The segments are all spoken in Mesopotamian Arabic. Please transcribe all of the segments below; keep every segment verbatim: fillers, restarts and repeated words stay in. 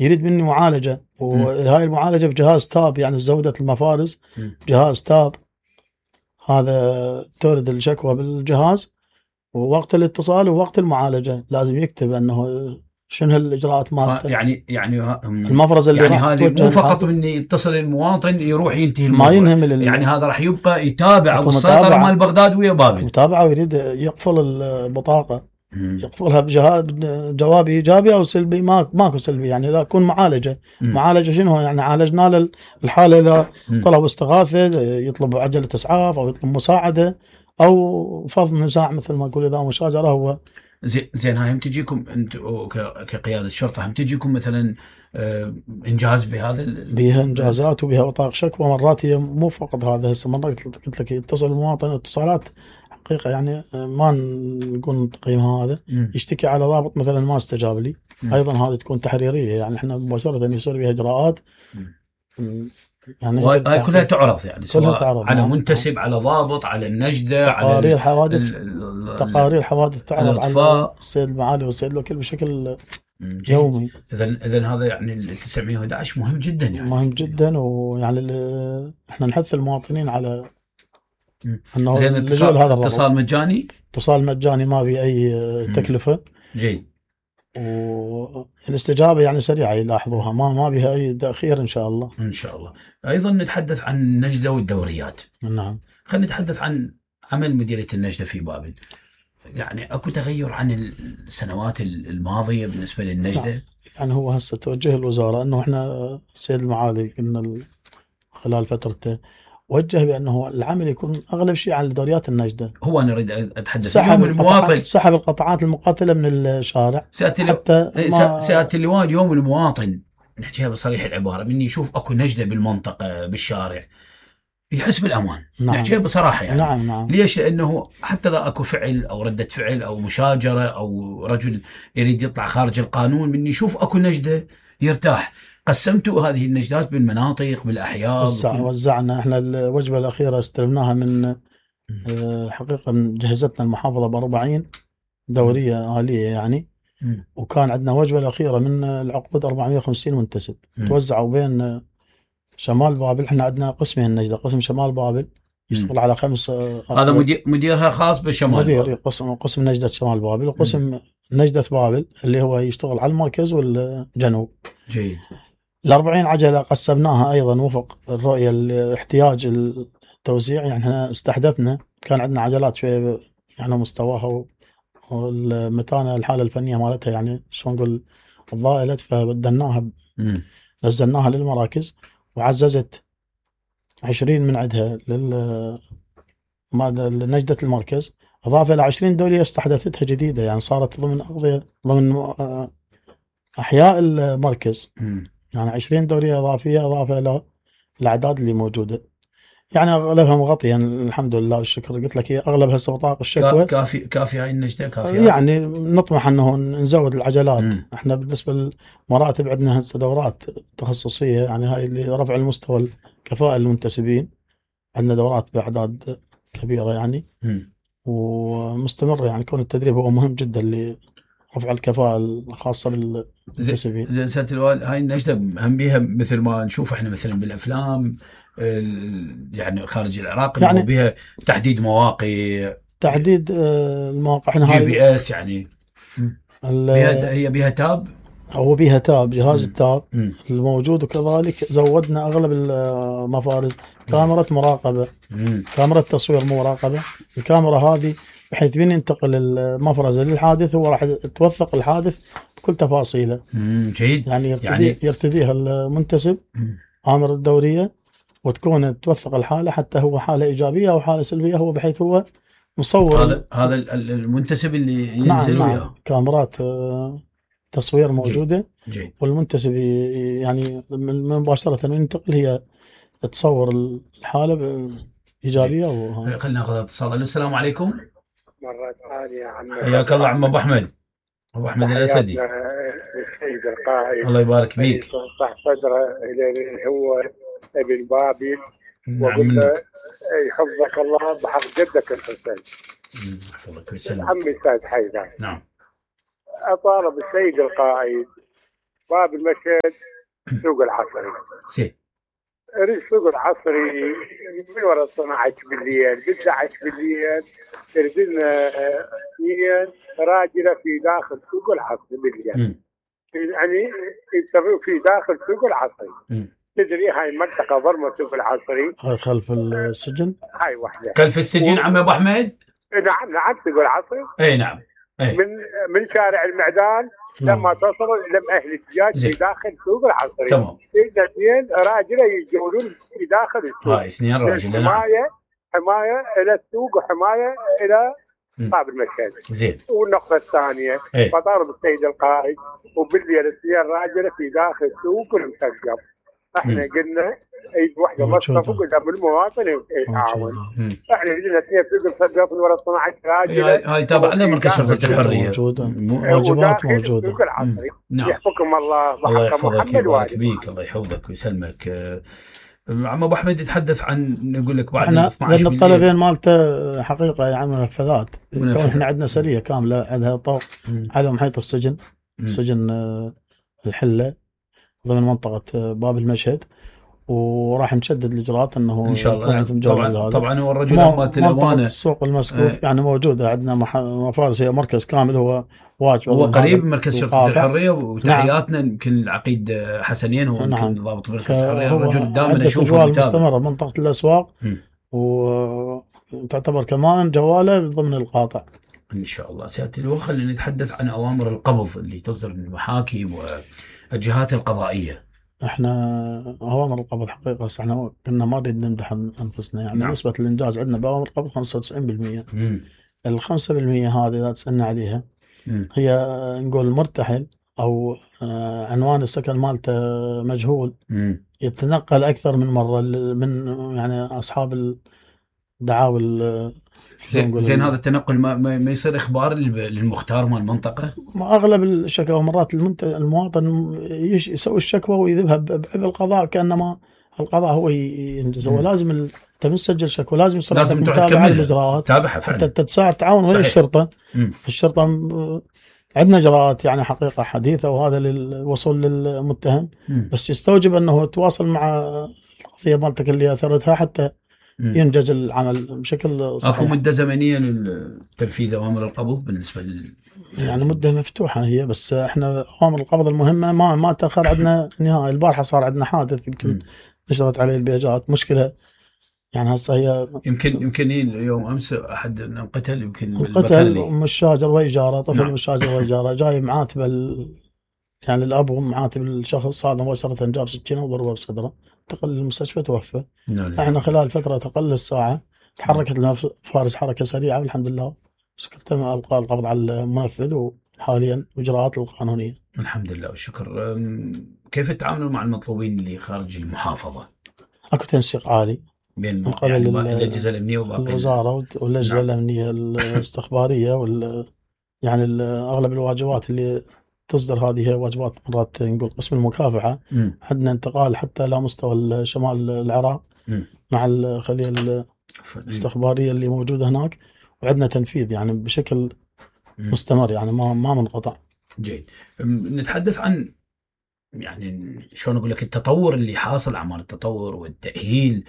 يريد مني معالجة، وهاي المعالجة بجهاز تاب، يعني زودة المفارز جهاز تاب، هذا تورد الشكوى بالجهاز، ووقت الاتصال ووقت المعالجة لازم يكتب أنه شنو هالإجراءات مالته. يعني يعني المفرز اللي يعني راح هذه مو فقط من يتصل المواطن يروح ينتهي ما الموضوع، ينهم يعني هذا راح يبقى يتابع والسيطرة مال بغداد ويا بابل. متابعة، ويريد يقفل البطاقة، يقفلها بجهاز جواب إيجابي أو سلبي. ما ماكو سلبي، يعني لا يكون معالجة. مم. معالجة شنو يعني؟ عالجنا الحالة، إذا طلب استغاثة يطلب عجلة إسعاف أو يطلب مساعدة أو فض نزاع مثل ما نقول، إذا مشاجرة هو زين. زين هاي هم تجيكم انتم كقيادة الشرطة، هم تجيكم مثلا انجاز بهذا؟ بها انجازات وبها بطاقة شكوى. مرات هي مو فقط هذا، هسه مرات قلت لك يتصل المواطن اتصالات حقيقة يعني ما نقول تقييمها هذا، م. يشتكي على ضابط مثلا ما استجاب لي، م. ايضا هذه تكون تحريرية، يعني احنا مباشرة يصير بها اجراءات، يعني هاي كلها تعرض، يعني كلها تعرض على منتسب، على ضابط، على النجدة، تقارير حوادث، تقارير حوادث تعرض على السيد المعالي والسيد الوكيل بشكل يومي. اذا اذا هذا يعني ال تسعمية وأحد عشر مهم جدا، يعني مهم جدا، ويعني احنا نحث المواطنين على انه زين اتصال هذا اتصال مجاني، اتصال مجاني ما في اي تكلفة. جيد. والاستجابة يعني سريعة يلاحظوها، ما ما بها اي تأخير ان شاء الله. ان شاء الله. ايضا نتحدث عن النجدة والدوريات. نعم. خلينا نتحدث عن عمل مديرية النجدة في بابل. يعني اكو تغير عن السنوات الماضية بالنسبة للنجدة؟ نعم. يعني هو هسه توجه الوزارة انه احنا السيد المعالي قلنا خلال فترته وجه بانه العمل يكون اغلب شيء على دوريات النجدة. هو انا اريد اتحدث سحب المواطن، سحب القطاعات المقاتلة من الشارع. حتى ما... سيادة اللواء، اليوم المواطن نحكيها بصريح العبارة، من يشوف اكو نجدة بالمنطقة بالشارع يحس بالامان. نعم. نحكيها بصراحة يعني. نعم نعم. ليش؟ لانه حتى اذا اكو فعل او ردة فعل او مشاجرة او رجل يريد يطلع خارج القانون، من يشوف اكو نجدة يرتاح. قسمتوا هذه النجدات بالمناطق بالاحياء؟ وزع وزعنا احنا الوجبة الاخيرة استلمناها من حقيقة جهزتنا المحافظة بأربعين دورية آلية يعني. م. وكان عندنا وجبة الأخيرة من العقود أربعمية وخمسين منتسب م. توزعوا بين شمال بابل. احنا عندنا قسمين النجدة، قسم شمال بابل يشتغل م. على خمس. هذا مدير مديرها خاص بشمال مدير بابل. قسم قسم نجدة شمال بابل، وقسم م. نجدة بابل اللي هو يشتغل على المركز والجنوب. جيد. الأربعين عجلة قسمناها أيضا وفق الرؤية الاحتياج التوزيع. يعني احنا استحدثنا، كان عندنا عجلات شوية يعني مستواها والمتانة الحالة الفنية مالتها يعني شو نقول الضائلة، فبدلناها نزلناها للمراكز، وعززت عشرين من عندها لل ماذا لنجدة المركز، إضافة إلى عشرين دورية استحدثتها جديدة، يعني صارت ضمن أقضية ضمن أحياء المركز. م. يعني عشرين دورية إضافية إضافة إلى الأعداد اللي موجودة، يعني أغلبها مغطية يعني الحمد لله والشكر. قلت لك هي أغلب هسه بطاقة الشكوى كافي كافي هاي النجدة كافية. يعني نطمح أنه نزود العجلات. م. احنا بالنسبة للمراتب عندنا هسه دورات تخصصية، يعني هاي اللي رفع المستوى الكفاءة للمنتسبين، عندنا دورات بأعداد كبيرة يعني. م. ومستمرة، يعني كون التدريب هو مهم جدا لرفع الكفاءة الخاصة بالمنتسبين. زين سيادة اللواء، هاي النجدة هم بيها مثل ما نشوف احنا مثلا بالأفلام يعني خارج العراق، يعني بها تحديد مواقع، تحديد المواقع. احنا جي بي اس يعني بيها، هي بيها تاب، هو بيها تاب، جهاز التاب الموجود، وكذلك زودنا أغلب المفارز كاميرا مراقبة، مم. كاميرا تصوير مراقبة. الكاميرا هذه بحيث من ينتقل المفرز للحادث هو راح توثق الحادث بكل تفاصيله. جيد. يعني يرتدي يعني يرتديها المنتسب آمر الدورية، وتكون توثق الحالة حتى هو حالة إيجابية أو حالة سلبية، هو بحيث هو مصور. هذا هذا المنتسب اللي ينزل نعم وياه. نعم. كاميرات تصوير موجودة. جيد. جيد. والمنتسب يعني مباشرة ينتقل هي تصور الحالة إيجابية. خلينا ناخذ اتصال. السلام عليكم. مرة ثانية عم حياك الله عم أبو أحمد، أبو أحمد الأسدي. السيد القائد الله يبارك فيك. صح صدره إلى هو ابن بابل، وقل له يحفظك الله بحق جدك الحسين. يحفظك ويسلمك. عمي السيد حيدر. نعم. أطالب السيد القائد باب المشهد سوق العصري. زين. السوق العصري من وراء اثنا عشر بالليل ب احد عشر بالليل ترد لنا اثنين راجله في داخل سوق العصري بالليل. يعني يسوي في داخل سوق العصري. م. تدري هاي المنطقه ضرمه سوق العصري. هاي خلف السجن؟ هاي واحده. خلف السجن و... عم ابو احمد؟ نعم نعم سوق العصري. اي نعم. أي. من من شارع المعدان لما توصلوا الى اهل الدجاج في داخل سوق العصري. تمام. اثنين راجله يجولون في داخل السوق. هاي اثنين راجله. حمايه حمايه الى السوق وحمايه الى باب المشهد. زين. والنقطه الثانيه فطار بالسيد القائد وبالليل اثنين راجله في داخل السوق المسقف. احنا قلنا اي وحده مصطفى قدام المواطن يتعاون. احنا قلنا اثنين سوق المسقف ولا اثنا عشر راجله. هاي تابع لنا مركز شرطه الحريه. موجوده. واجبات موجوده. سوق العصري. نعم. يحفظكم الله الله يحفظك ويبارك بيك. الله يحفظك ويسلمك. عم ابو احمد يتحدث عن نقول لك بعد اثنا عشر لان الطلبين مالته حقيقه يعني منفذات. كون احنا عندنا سريه كامله عندها طوق على محيط السجن. م. سجن الحله ضمن منطقه باب المشهد. وراح نشدد الاجراءات انه ان شاء الله. طبعا طبعا هو الرجل مالت الامانه السوق المسقوف آه. يعني موجوده عندنا مفارس هي مركز كامل هو واجب. هو قريب مركز شرطه الحريه وتحياتنا يمكن نعم. العقيد حسنين هو يمكن نعم. ضابط مركز الحريه. الرجل دائما اشوفه مستمره منطقه الاسواق وتعتبر كمان جواله ضمن القاطع ان شاء الله. سياده اللواء خلينا نتحدث عن اوامر القبض اللي تصدر من المحاكم والجهات القضائيه. احنا اوامر القبض حقيقه بس احنا كنا ما نريد نمدح انفسنا يعني. نعم. نسبه الانجاز عندنا باوامر القبض خمسة وتسعين بالمئة. ال خمسة بالمئة هذه اذا تسالنا عليها مم. هي نقول مرتحل او عنوان السكن مالته مجهول. مم. يتنقل اكثر من مره من يعني اصحاب الدعاوى. زين, زين هذا التنقل ما, ما يصير اخبار للمختار مال المنطقه؟ ما اغلب الشكاوى مرات المواطن يسوي الشكوى ويذهبها بعب القضاء كانما القضاء هو ينجز. هو لازم انت مسجل شكوى لازم يصير لازم متابعه الاجراءات تابعها فعلا حتى تساعد تعاون ويا الشرطه. مم. الشرطه عندنا اجراءات يعني حقيقه حديثه وهذا للوصول للمتهم. مم. بس يستوجب انه يتواصل مع القضيه مالتك اللي اثرتها حتى ينجز العمل بشكل صحيح. اكو مده زمنيه للتنفيذ اوامر القبض بالنسبه لل يعني مده مفتوحه هي بس احنا اوامر القبض المهمه ما ما تاخر عندنا نهائي. البارحه صار عندنا حادث يمكن نشرت عليه البيجات مشكله يعني هسه هي يمكن يمكن يوم امس احد انقتل يمكن انقتل مشاجر ويجاره طفل. نعم. مشاجر ويجاره جاي معاتب ال... يعني الاب ومعاتب الشخص هذا مباشره جاب سكينه وضربه بصدره انتقل للمستشفى توفى. نعم. احنا خلال فتره تقل الساعه تحركت لنا فارس حركه سريعه والحمد لله تم القاء القبض على المنفذ وحاليا اجراءات القانونيه. الحمد لله والشكر. كيف تتعاملون مع المطلوبين اللي خارج المحافظه؟ اكو تنسيق عالي بين من قبل يعني الاجهزه الامنيه والوزاره والاجهزه نعم. الامنيه الاستخباريه وال يعني اغلب الواجبات اللي تصدر هذه هي واجبات مرات نقول قسم المكافحه. م. عندنا انتقال حتى لا مستوى شمال العراق م. مع الخليه الاستخباريه اللي موجوده هناك وعندنا تنفيذ يعني بشكل م. مستمر يعني ما ما منقطع. جيد. نتحدث عن يعني شلون اقول لك التطور اللي حاصل اعمال التطور والتاهيل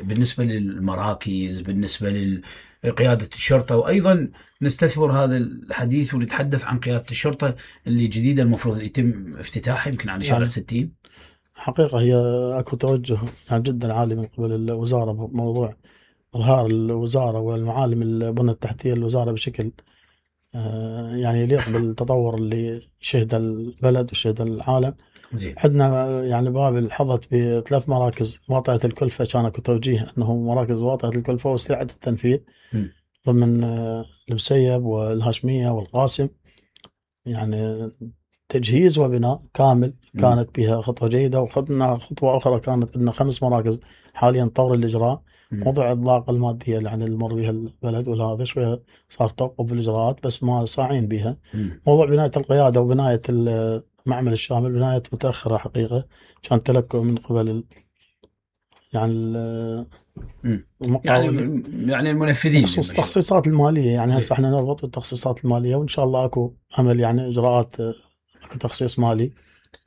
بالنسبه للمراكز بالنسبه لقياده الشرطه وايضا نستثمر هذا الحديث ونتحدث عن قياده الشرطه اللي جديده المفروض يتم افتتاحها يمكن على شارع يعني ستين. حقيقه هي اكو توجه يعني جدا عالي من قبل الوزاره بموضوع اظهار الوزاره والمعالم البنى التحتيه للوزاره بشكل يعني يليق بالتطور اللي شهد البلد وشهد العالم. زين. عندنا يعني بابل حظت بثلاث مراكز واطئة الكلفة كان اكو توجيه انه مراكز واطئة الكلفة وسريعة التنفيذ م. ضمن المسيب والهاشمية والقاسم يعني تجهيز وبناء كامل. م. كانت بها خطوة جيدة وخدنا خطوة أخرى كانت عندنا خمس مراكز حاليا طور الإجراء. موضوع الضاقة المادية اللي يعني المر بها البلد وهذا شوية صار توقف بالإجراءات بس ما صاعين بها. م. موضوع بناية القيادة وبناية المعمل الشامل بناية متأخرة حقيقة كان تلكؤ من قبل ال يعني ال يعني يعني المنفذين بخصوص التخصيصات المالية يعني هسه احنا نربط بالتخصيصات المالية وإن شاء الله أكو عمل يعني إجراءات اكو تخصيص مالي.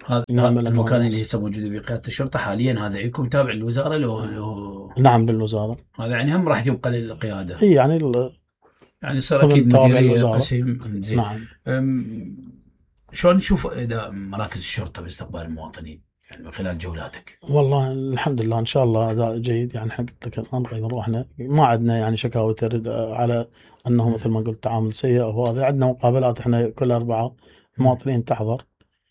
هذا نعمل المكان الموضوع. اللي هسه موجود بقيادة الشرطة حاليا هذا لكم تابع للوزارة لو, لو نعم بالوزارة. هذا يعني هم راح يبقى للقيادة. اي يعني ال... يعني صار اكيد مديرية قسم. زين. نعم. شلون نشوف اداء مراكز الشرطة باستقبال المواطنين يعني من خلال جولاتك؟ والله الحمد لله ان شاء الله اداء جيد. يعني حق نبغى نروحنا ما عندنا يعني شكاوى ترد على انه مثل ما قلت تعامل سيء او هذا. عندنا مقابلات احنا كل اربعة المواطنين تحضر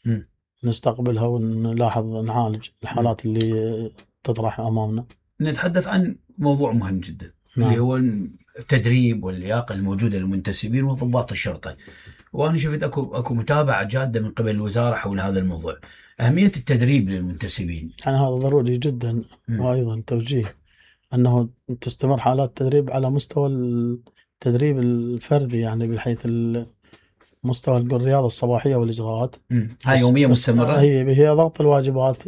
م. نستقبلها ونلاحظ نعالج الحالات م. اللي تطرح امامنا. نتحدث عن موضوع مهم جدا. نعم. اللي هو التدريب واللياقة الموجودة للمنتسبين وضباط الشرطة. وانا شفت اكو اكو متابعة جادة من قبل الوزارة حول هذا الموضوع. أهمية التدريب للمنتسبين يعني هذا ضروري جدا. م. وأيضا توجيه أنه تستمر حالات التدريب على مستوى التدريب الفردي يعني بحيث مستوى الرياضة الصباحية والإجراءات. هاي يومية مستمرة. هي هي ضغط الواجبات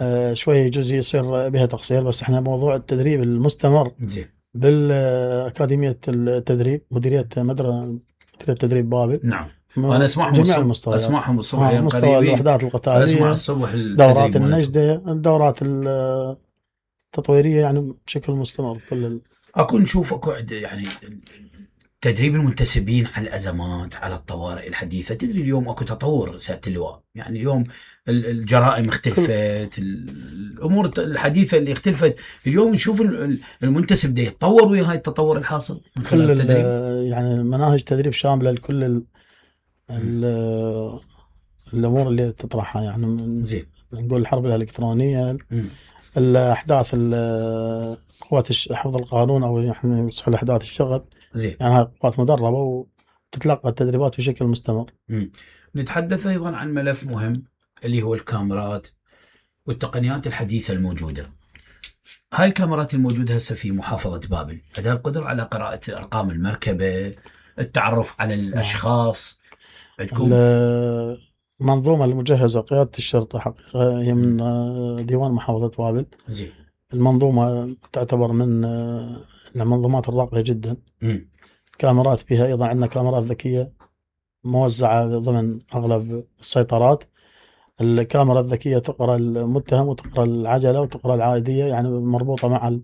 آه شوي يجوز يصير بها تقصير بس احنا موضوع التدريب المستمر زي. بالأكاديمية التدريب مديرية مدرسة مديرية التدريب بابل. نعم. أنا أسمعهم الصبح أسمعهم الصبح آه مستوى الوحدات القتالية. أسمع الصبح دورات النجدة الدورات التطويرية يعني بشكل مستمر كل ال... أكون نشوف أكو يعني تدريب المنتسبين على الأزمات على الطوارئ الحديثة. تدري اليوم أكو تطور سيادة اللواء يعني اليوم الجرائم اختلفت الأمور الحديثة اللي اختلفت. اليوم نشوف المنتسب ده يتطور ويا هاي التطور الحاصل من خلال التدريب. يعني مناهج تدريب شاملة لكل ال ال الأمور اللي تطرحها يعني زين. نقول الحرب الإلكترونية م. الأحداث قوات حفظ القانون أو يعني أحداث الشغب. زين. يعني هاي قوات مدربة وتتلقى التدريبات بشكل مستمر. م. نتحدث أيضا عن ملف مهم اللي هو الكاميرات والتقنيات الحديثة الموجودة. هاي الكاميرات الموجودة هسه في محافظة بابل عندها القدرة على قراءة أرقام المركبة التعرف على الأشخاص. عندكم المنظومة المجهزة قيادة الشرطة حقيقة هي من ديوان محافظة بابل. زين. المنظومة تعتبر من المنظومات الراقية جدا. م. كاميرات فيها أيضا عندنا كاميرات ذكية موزعة ضمن أغلب السيطرات. الكاميرا الذكية تقرأ المتهم وتقرأ العجلة وتقرأ العائدية يعني مربوطة مع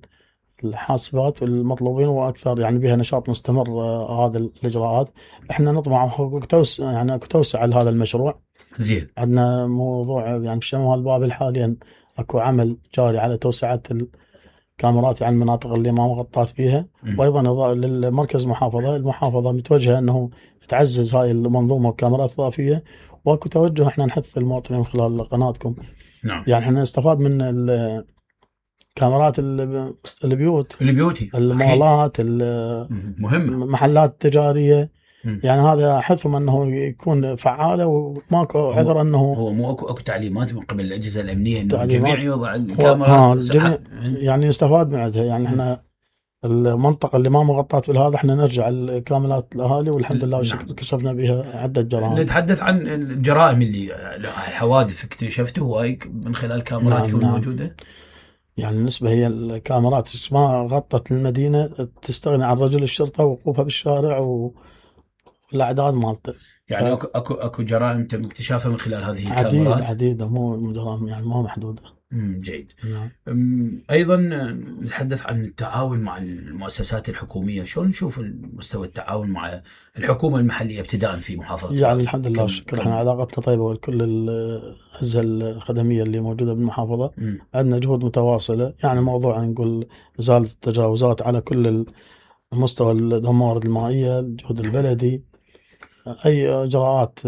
الحاسبات والمطلوبين وأكثر يعني بها نشاط مستمر. آه هذه الإجراءات إحنا نطمع توسع يعني توسع لهذا المشروع. زين. عندنا موضوع يعني في شمال بابل حاليا أكو عمل جاري على توسعة الكاميرات يعني المناطق اللي ما مغطات فيها. م. وأيضا للمركز محافظة المحافظة متوجهة أنه تعزز هاي المنظومة وكاميرات إضافية واكو توجه احنا نحث المواطنين من خلال قناتكم. نعم. يعني احنا نستفاد من الكاميرات البيوت البيوتي المولات مهمة المحلات التجارية. م. يعني هذا حثهم انه يكون فعالة وماكو عذر انه هو مو اكو اكو تعليمات من قبل الاجهزة الامنية انه الجميع يوضع الكاميرات. ها الجميع يعني يستفاد من عندها. يعني احنا المنطقة اللي ما مغطات بالهذا احنا نرجع الكاملات الأهالي والحمد لله نعم. كشفنا بها عدة جرائم. نتحدث عن الجرائم اللي الحوادث اكتشفته هاي من خلال كاميراتكم نعم. الموجودة. نعم. يعني بالنسبة هي الكاميرات ما غطت المدينة تستغني عن رجل الشرطة ووقوفها بالشارع والأعداد مالته. يعني ف... اكو اكو اكو جرائم تم اكتشافها من خلال هذه عديد الكاميرات. عديدة مو جرائم يعني مو محدودة. امم جيد. نعم. ايضا نتحدث عن التعاون مع المؤسسات الحكوميه. شلون نشوف مستوى التعاون مع الحكومه المحليه ابتداء في محافظه يعني بابل؟ الحمد لله والشكر احنا علاقتنا طيبه وكل الاجهزه الخدميه اللي موجوده بالمحافظه. م. عندنا جهود متواصله يعني موضوع نقول ازاله التجاوزات على كل المستوى الموارد المائيه الجهد البلدي اي اجراءات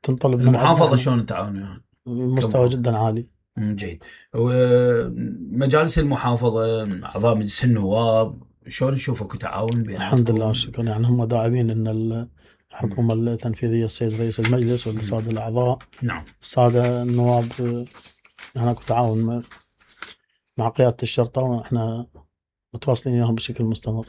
تنطلب من المحافظه. شلون التعاون يعني؟ مستوى جدا عالي. جيد. ومجالس المحافظة أعضاء مجلس النواب شلون نشوفك تعاون بيناتكم؟ الحمد لله والشكر يعني هم داعمين أن الحكومة م. التنفيذية السيد رئيس المجلس والسادة الأعضاء. نعم. السادة النواب يعني اكو تعاون مع قيادة الشرطة ونحن متواصلين وياهم بشكل مستمر.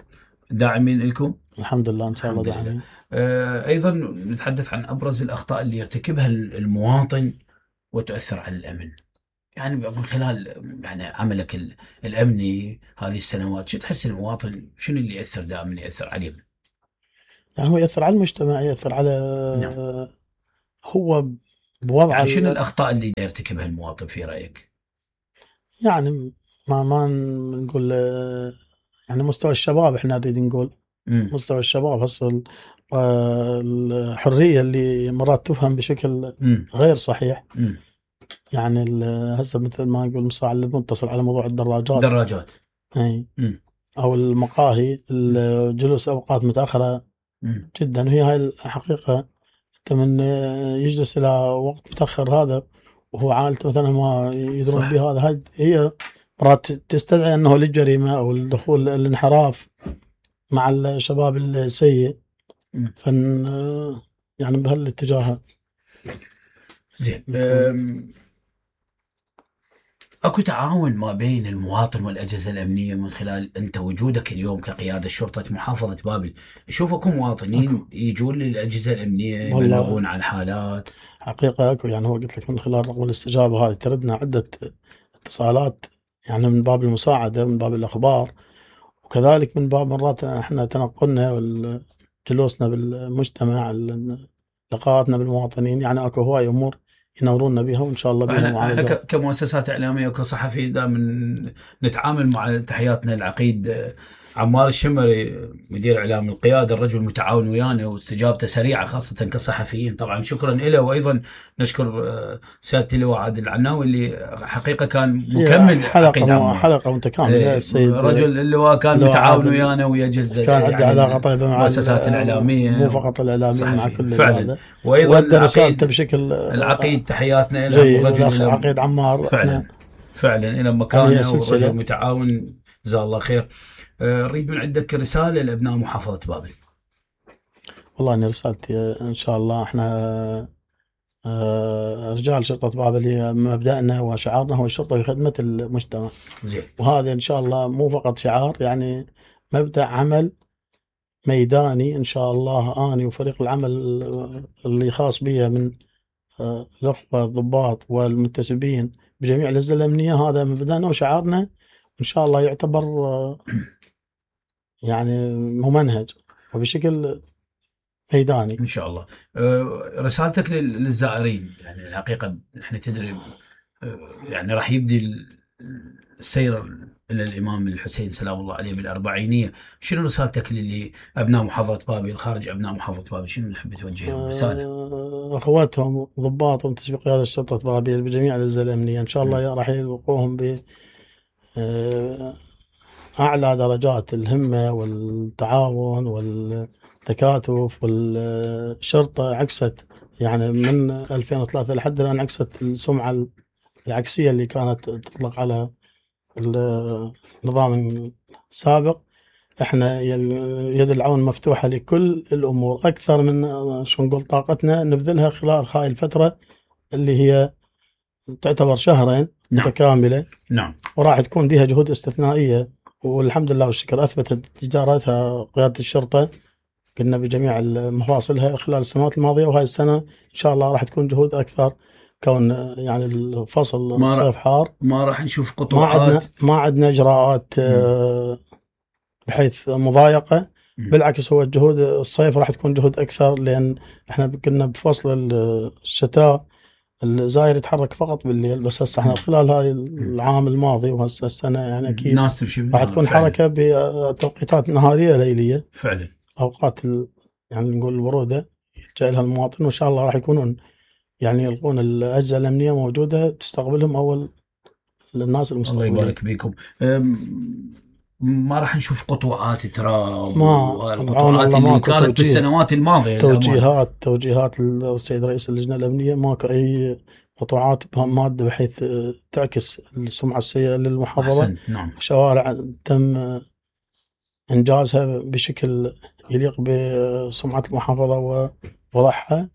داعمين لكم؟ الحمد لله إن شاء الله داعمين. آه أيضا نتحدث عن أبرز الأخطاء اللي يرتكبها المواطن وتؤثر على الأمن. يعني من خلال يعني عملك الأمني هذه السنوات شو تحس المواطن شنو اللي يأثر دائما يأثر عليه؟ يعني هو يأثر على المجتمع يأثر على نعم. هو بوضع يعني شنو ال- الاخطاء اللي يرتكبها المواطن في رايك؟ يعني ما ما نقول آه، يعني مستوى الشباب احنا نريد نقول مم. مستوى الشباب هسه ال- آه، الحريه اللي مرات تفهم بشكل مم. غير صحيح. مم. يعني ال- هسه مثل ما نقول مصراع اللي متصل على موضوع الدراجات دراجات. اي مم. او المقاهي الجلوس اوقات متاخره مم. جدا، وهي هاي الحقيقه. انت من يجلس الى وقت متاخر هذا وهو عائلته مثلا ما يدرون صح. بهذا، هاي هي مرات تستدعي انه للجريمه او الدخول الانحراف مع الشباب السيء. مم. فن يعني بهالاتجاه. زين. أم، اكو تعاون ما بين المواطن والاجهزه الامنيه من خلال انت وجودك اليوم كقياده شرطه محافظه بابل؟ اشوفكم مواطنين أكو. يجون للاجهزه الامنيه والله. يبلغون عن الحالات؟ حقيقه اكو، يعني هو قلت لك من خلال رقم الاستجابه هذه تردنا عده اتصالات، يعني من باب المساعده، من باب الاخبار، وكذلك من باب مرات احنا تنقلنا وجلوسنا بالمجتمع، لقاءاتنا بالمواطنين. يعني اكو هواي امور ينورونا بها وان شاء الله بها احنا احنا معالجات. ك- كمؤسسات اعلاميه وكصحفيين دائما نتعامل مع تحياتنا العقيد آه، عمار الشمري مدير اعلام القياده، الرجل متعاون ويانا واستجابته سريعه خاصه كصحفيين. طبعا شكرا له، وايضا نشكر آه، سياده اللواء عادل العناوي اللي حقيقه كان مكمل عقيد حلقه عمار. حلقه متكامله. إيه، السيد رجل اللواء كان اللواء متعاون عادل ويانا ويا جزء كان عندي يعني علاقه طيبه مع المؤسسات الاعلاميه، مو فقط الاعلاميه، مع صحفيين. كل فعلا. هذا. وايضا وادى رسالته العقيد بشكل العقيد تحياتنا له، جيد. والرجل الأخ له عقيد عمار فعلا احنا فعلا الى يعني مكانه، سلسلة. والرجل متعاون جزاه الله خير. آه، اريد من عندك رساله لابناء محافظه بابل. والله اني رسالتي ان شاء الله احنا آه، رجال شرطه بابل هي مبدأنا وشعارنا هو الشرطه في خدمه المجتمع. زين. وهذا ان شاء الله مو فقط شعار، يعني مبدأ عمل ميداني ان شاء الله. اني وفريق العمل اللي خاص بي من آه، الاخوه الضباط والمنتسبين بجميع الاجهزه الامنيه، هذا مبدأنا وشعارنا، ان شاء الله يعتبر آه، يعني ممنهج وبشكل ميداني. ان شاء الله. آه، رسالتك لل- للزائرين، يعني الحقيقه احنا تدري آه، يعني راح يبدي ال- السير الى الامام الحسين سلام الله عليه بالاربعينيه. شنو رسالتك للي ابناء محافظه بابل، خارج ابناء محافظه بابل، شنو نحب توجه لهم رساله؟ آه، اخواتهم ضباط ومنتسبي قياده شرطه بابل بجميع الاجهزه الامنيه ان شاء الله راح يلقوهم ب آه، اعلى درجات الهمه والتعاون والتكاتف. والشرطه عكست يعني من ألفين وثلاثة لحد الان، عكست السمعه العكسيه اللي كانت تطلق على النظام السابق. احنا يد العون مفتوحه لكل الامور، اكثر من شو نقول طاقتنا نبذلها خلال هاي الفتره اللي هي تعتبر شهرين نعم. متكامله. نعم. وراح تكون بها جهود استثنائيه، والحمد لله والشكر اثبتت جدارتها قياده الشرطه. قلنا بجميع مفاصلها خلال السنوات الماضيه، وهاي السنه ان شاء الله راح تكون جهود اكثر، كون يعني الفصل ما الصيف حار. ما راح نشوف ما عندنا قطوعات. ما عندنا اجراءات آه، بحيث مضايقه. مم. بالعكس هو الجهود الصيف راح تكون جهود اكثر، لان احنا كنا بفصل الشتاء الزاير يتحرك فقط بالليل، بس هسه احنا خلال هاي العام الماضي وهسه السنه يعني اكيد الناس تمشي راح بالنهار. تكون فعلا. حركه بتوقيتات نهاريه ليليه، فعلا. اوقات ال- يعني نقول البروده يلجا لها المواطن. وان شاء الله راح يكونون يعني يلقون الاجهزه الامنيه موجوده تستقبلهم اول الناس الله المستقبلين. يبارك بكم. أم، ما راح نشوف قطوعات تراب ما والقطوعات الله اللي ماكو كانت توجيه. بالسنوات الماضيه. توجيهات توجيهات السيد رئيس اللجنه الامنيه، ماكو اي قطوعات ماده بحيث تعكس السمعه السيئه للمحافظه. أحسن. نعم. شوارع تم انجازها بشكل يليق بسمعه المحافظه ووضعها،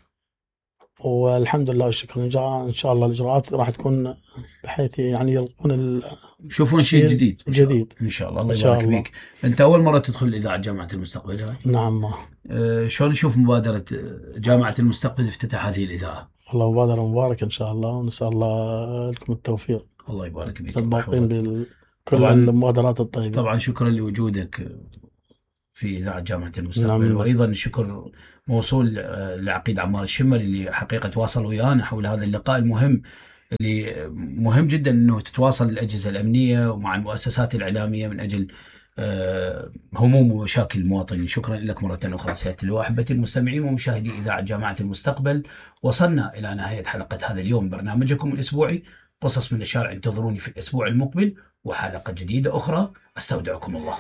والحمد لله والشكر. ان شاء الله الاجراءات راح تكون بحيث يعني يلقون ال... يشوفون شيء جديد جديد ان شاء الله. الله إن شاء يبارك الله. بك. انت اول مره تدخل اذاعه جامعه المستقبل هاي؟ نعم. ما أه شلون نشوف مبادره جامعه المستقبل افتتاح هذه الاذاعه؟ والله مبادره مباركه ان شاء الله، ونسال الله لكم التوفيق. الله يبارك بك. سباقين بكل طبعاً- المبادرات الطيبه. طبعا شكرا لوجودك في اذاعه جامعه المستقبل. نعم. وايضا شكر موصول لعقيد عمار الشمل اللي حقيقة تواصل ويانا حول هذا اللقاء المهم، اللي مهم جدا أنه تتواصل الأجهزة الأمنية ومع المؤسسات الإعلامية من أجل هموم ومشاكل المواطنين. شكرا لك مرة أخرى سيادة اللواء. أحبتي المستمعين ومشاهدي إذاعة جامعة المستقبل، وصلنا إلى نهاية حلقة هذا اليوم برنامجكم الأسبوعي قصص من الشارع. انتظروني في الأسبوع المقبل وحلقة جديدة أخرى. أستودعكم الله.